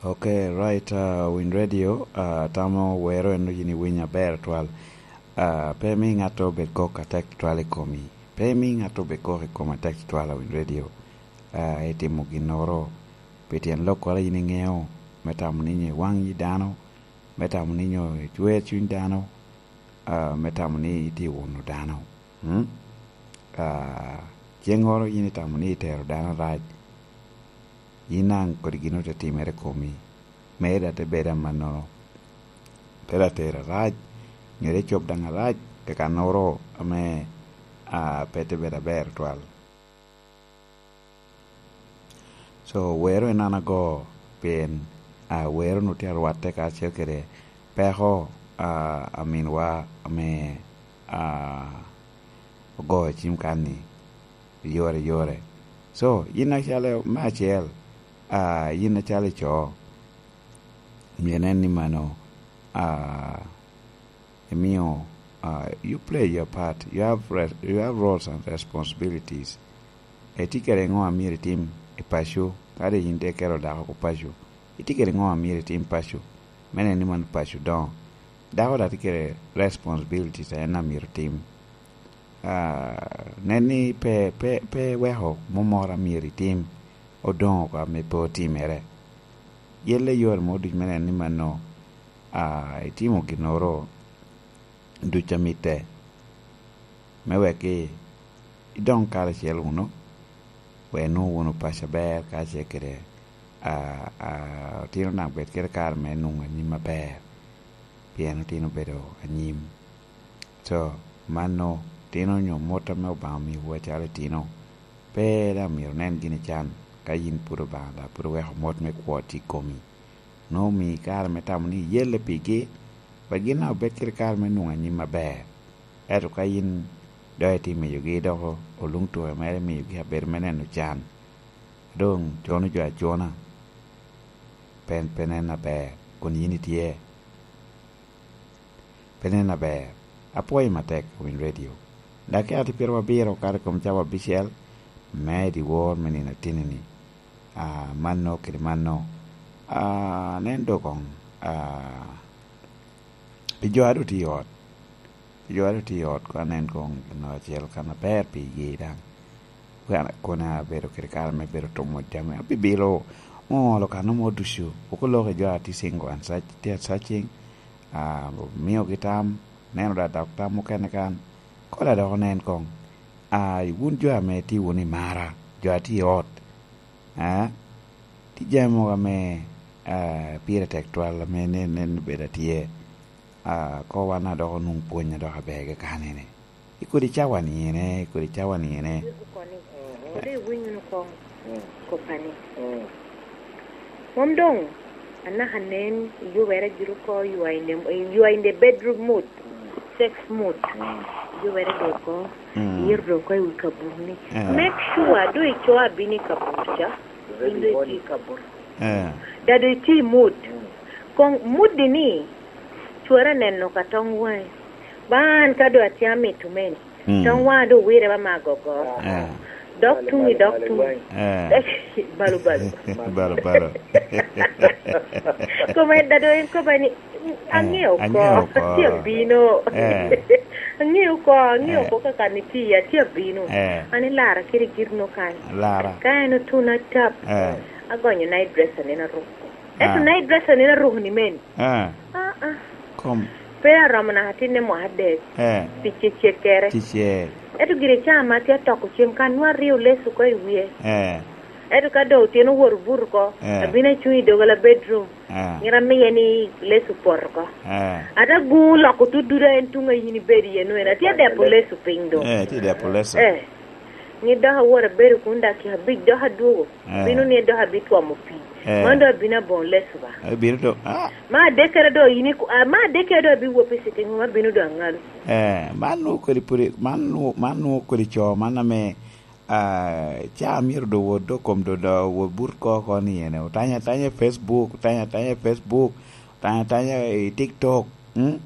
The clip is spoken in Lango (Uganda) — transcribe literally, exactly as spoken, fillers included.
Ok, right, uh, Win Radio, uh, tamo wero en yin iwinyo aber twal. Uh, pe mi ŋato obed kok atek twal i komi. Pe mi ŋato obed kok i kom atek twal a Win Radio. Uh, itimo ginnoro pi tyen lokkoro a yin iŋeo, me tamo ni nyo iwaŋ yi dano, me tamo ni nyo icwer cuny dano, uh, me tamo ni itye wuno dano. Mm? Uh, ceŋŋoro yin itamo ni itero dano rac, yin daŋ kodi gin ote timere komi, mere da te bedo amannono. Pe da tero arac, nyo te cob daŋ arac, kakannoro ame, a, pe te bedo aber twal. So, wero en an ago, pien, a, wero nu tye arwatte kacel kede peko, a, aminwa ame, a, ogo i cim kan-ni, yore, yore. So, yin acalo me acel, a, yin acalo ico, myero inen ni mano, a, imio, a, you play your part. You have re-, you have roles and responsibilities. Itye kede ŋo a myero itim i paco? Kadi yin te kelo dako oko paco, itye kede ŋo a myero itim paco? Me neno ni mano paco doŋo. Dako daŋ tye kede responsibilities a en a myero tim. Ah, nen ni pe, pe, pe weko mumoro a myero itim odoŋ oko ame pe otimere. Yelle yore mo ducu me neno ni mano, ah, itimo ginnoro ducu a mitte, me wek i-, idoŋ karacel wunu, wek inwoŋ wunu paco aber kacel kede, ah, ah, otino daŋ bed kede kare me nwoŋo anyim aber, pien otino obedo anyim. So, mano, tino onyo mot ame Obaŋa omiwu acalo itino, pe daŋ myero inen gini can, ka yin pwod Obaŋa daŋ pwod oweko mot me kwo tye i komi. Nwoŋo omii kare me tamo ni iyelle pigi, wek gin daŋ obed kede kare me nwoŋo anyim aber. Ento ka yin dok itye miyogi doko oluŋ tuke mere, miyogi abedo me neno can, doŋ cono jo acona, pe, pe nen aber, kun yin itye, pe nen aber. Apwoyi matek, Win Radio. Dakika tye pyerababiro okato i kom cawa abicel me dyewor me nino atini-ni. Ah, mano kede mano. Ah, nen doŋ, ah, pi jo a doŋ tye i ot. Pi jo a doŋ tye i ot, koŋ anen koŋ gin acel kan aber pigi daŋ. Kono, kono abedo kede kare me bedo tumo jami. Abibilo, oŋolo kano mo ducu. Pwod oloko i jo a tye single and search-, tye searching. Ah, omiogi tam, neno da dok tam mukene kan. Kola dok onen koŋ. Ah, wun jo ame tye wunu i mara, jo a tye i ot, ah, tye jami mogo ame, ah, pire tek twal ame nen, nen obedo atye. Ah, ko wan a dok onwoŋo pwony a dok aber kekane-ni. I kodi cawa-ni ene, i kodi cawa-ni ene. Wode iwiny wunu koŋ, mm, kopani. Mm. Mom doŋ anaka nen iyubere giri oko, you are in the, you are in the bedroom mood, mm, sex mood. Mm. Iyubere doŋ oko, mm, iyero doŋ oko i wi kabur-ni. Eh. Make sure doŋ ico abino i kabur ca, in doŋ itye i kabur. Eh. Da doŋ itye i mood. Mm. Koŋ mood-di ni, cwara neno ka toŋ waŋe. Ba an ka doŋ atye amito meni, mm, toŋ waŋa doŋ wirre ba me agogo. Eh. Dok tuŋi, dok tuŋi. Eh. Balu, balu. Balu, balu. Kome da doŋ en koba ni, eh, aŋeo oko, aŋeo oko. Atye abino. Eh. Aŋeo oko, aŋeo, eh, oko kaka ni tye, atye abino. Eh. An ilara kede gin no kany. Lara. Ka en otuno atap, eh, agonyo night dress a nino aruko. Ento, ah, night dress a nino aruko ni meni. Ah. Ah, ah. Kom. Pe aromo naka atinne mwaka adek. Eh. Ticce cekkere. Ticce. Ento gire ca ma atye atoko cem ka nwa aryo lesu oko i wie. Eh. Ento ka doŋ otyeno owoto obuto oko, eh, abino acuŋ i doggola bedroom. Eh. Myero amiye ni lesu pot oko. Eh. Ate agu loko tut duda en tuŋ a yin ibedo iye nwen. Atye adepo lesu piny doŋ. Eh, atye adepo lesu. Eh. Ni dok awot abedo kun dakika abic dok adwogo. Eh. Bino ni dok abitwomo pii. Eh. Man dok abino aboŋo lesu ba. Abino doŋ, ah. Ma adekkere doŋ yin iku-, ah, ma adekkere doŋ abiwop i sitting room, abino doŋ aŋalu. Eh, man nwoŋo kodi pwod, man nwoŋo, man nwoŋo kodi co, man ame, ah, ca myero doŋ wot doŋ kom doŋ, doŋ wot but ko oko ni ene. Otanya atanya i Facebook, otanya atanya i Facebook, otanya atanya i TikTok. Mm?